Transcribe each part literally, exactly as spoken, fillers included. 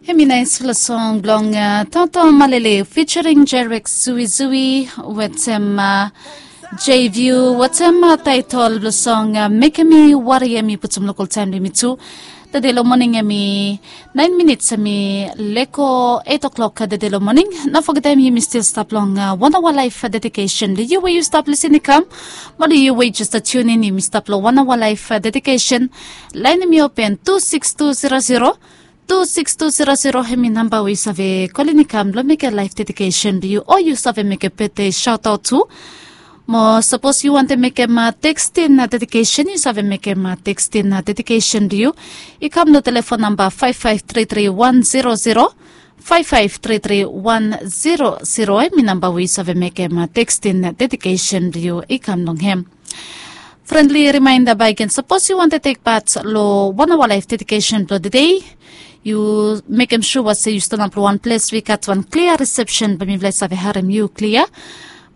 Hemi naispela song bilong Toto Malele featuring Jerek Zui Zui wetem J View wetem taitol bilong song Mekem Mi Wari. Em i putum lokal taim bilong yumi tu. Tede long moning em i nain minits, em i leko eit o'klok tede long moning. No fogetem yumi stil stap long wan awa laif dedikesen long yu we yu stap lisin i kam. Moli yu we jes tunin, yumi stap long wan awa laif dedikesen. Lain em i open tu siks tu zero zero, tu siks tu zero zero. Hemi namba we yu save kolin i kam long mekem laif dedikesen bilong yu, o yu save mekem betde sautaut tu. Mo sapos yu wantem mekem tekstin dedikesen, yu save mekem tekstin dedikesen bilong yu i kam long telefon namba faiv faiv tri tri wan zero zero, faiv faiv tri tri wan zero zero. Hemi namba we yu save mekem tekstin dedikesen bilong yu i kam long hem. Frendli rimainda baik gen, sapos yu wantem tek pat long wan awa laif dedikesen bilong tede, yu mekem sua se yu stanap long wan ples we i gat wan klia risepsen, bai mipela i save harim yu klia.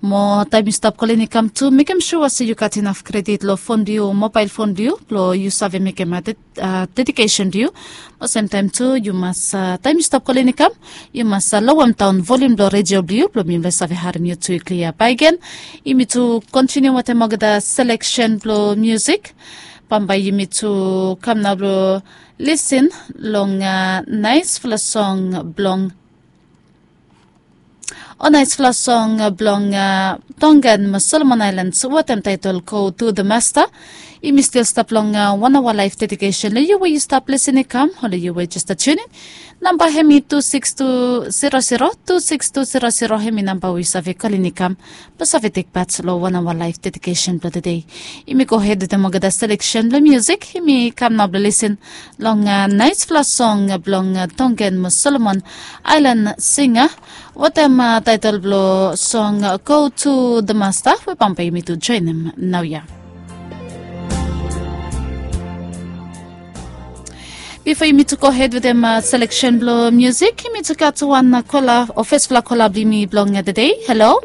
Mo taim yu stap kolin i kam tu, mekem sua se yu gat inaf kredit long fon bilong yu, mobail fon bilong yu, bilong yu save mekem dedikesen bilong yu. Olsem taim tu yu mas, taim yu stap kolin i kam, yu mas lowem daun volium bilong redio bilong yu, bilong mipela i save harim yu tu i klia. Baik gen, yumi tu kontiniu wetem olgeta seleksen bilong musik. Bambae yumi tu kam nao bilong lisin long naispela song bilong, o naispela song bilong Tongan mo Solomon Ailans wetem taitol Go Tu The Masta. Yumi stil stap long wan awa laif dedikesen long yu we yu stap lisin i kam, o long yu we jes tunin. Namba hemi tu siks tu zero zero, tu siks tu zero zero hemi namba we yu save kolin i kam, bilong save tek pat long wan awa laif dedikesen bilong tede. Yumi go hed wetem olgeta seleksen bilong musik, yumi kam nao bilong lisin long naispela song bilong Tongan mo Solomon Ailan singa wetem taitol bilong song Go Tu The Masta, we bambae yumi tu joinim naoia. Bipo yumi tu go hed wetem seleksen bilong musik, yumi tu gat wan kola, o fesfala kola bilong yumi bilong tede. Halo.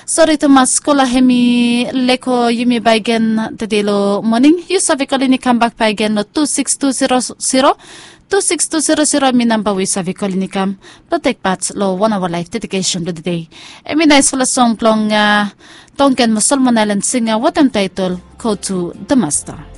Sori tumas, kola hemi leko yumi baik gen tede long moning. Yu save kolin i kam bak baik gen long tu siks tu zero zero, tu siks tu zero zero hemi namba we yu save kolin i kam bilong tek pat long wan awa laif dedikesen bilong tede. Hemi naispela song bilong Tongan mo Solomon Ailans singa wetem taitol Go Tu The Masta.